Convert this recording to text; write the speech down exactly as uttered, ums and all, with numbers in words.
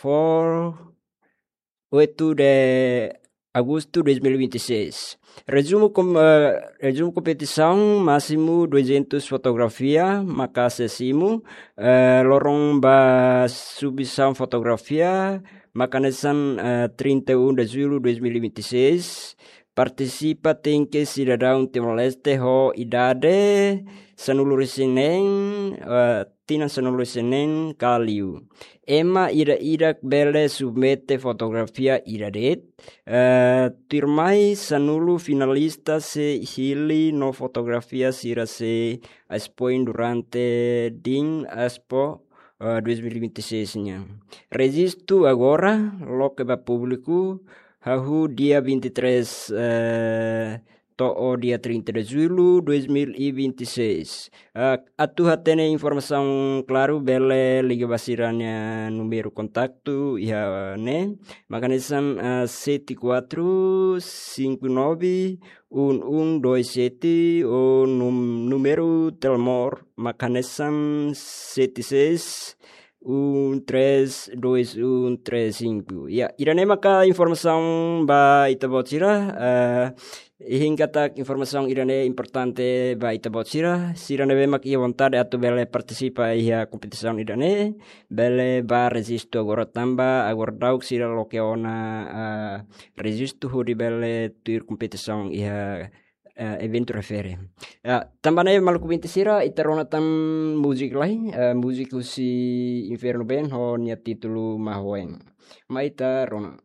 por oito de agosto de dois mil e vinte e seis. Resumo com, eh, resumo kompetisaun másimu duzentos fotografia, maka sesimu, eh, loron ba submissão fotografia, maka hanesan, eh, trinta e um de julho de dois mil e vinte e seis. Partisipa tenke sidadaun Timor-Leste ho idade sanulu-resin-neen, eh, tinan sanulu-resin-neen ka liu. Ema ida-idak bele submete fotografia ida de'it, eh, tuirmai sanulu finalista sei hili no fotografia sira sei expoin durante Din Expo, eh, dois mil e vinte e seis nian. Rejistu agora, loke ba públiku, hahú dia vinte e três, eh, to'o dia trinta de julho dois mil e vinte e seis. Ah, atu hatene informasaun klaru, bele liga ba sira-nia númeru kontaktu iha ne'e, maka hanesan, ah, sete quatro cinco nove um um dois sete, ou num-, númeru telemóvel, maka hanesan sete seis um três dois um três cinco. Ya, ida-ne'e maka informasaun ba ita-boot sira, eh, iha katak informasaun ida-ne'e importante ba ita-boot sira, sira ne'ebé mak iha vontade atu bele partisipa iha kompetisaun ida-ne'e, bele bá rejistu agora tanba agora daudauk sira loke ona, eh, rejistu hodi bele tuir kompetisaun iha, eh, eventu refere. Ya, tanba ne'e maluk ouvinte sira, ita rona tan múzika lai, eh, múzika husi Inferno Band ho nia títulu Mahoen. Mai ita rona.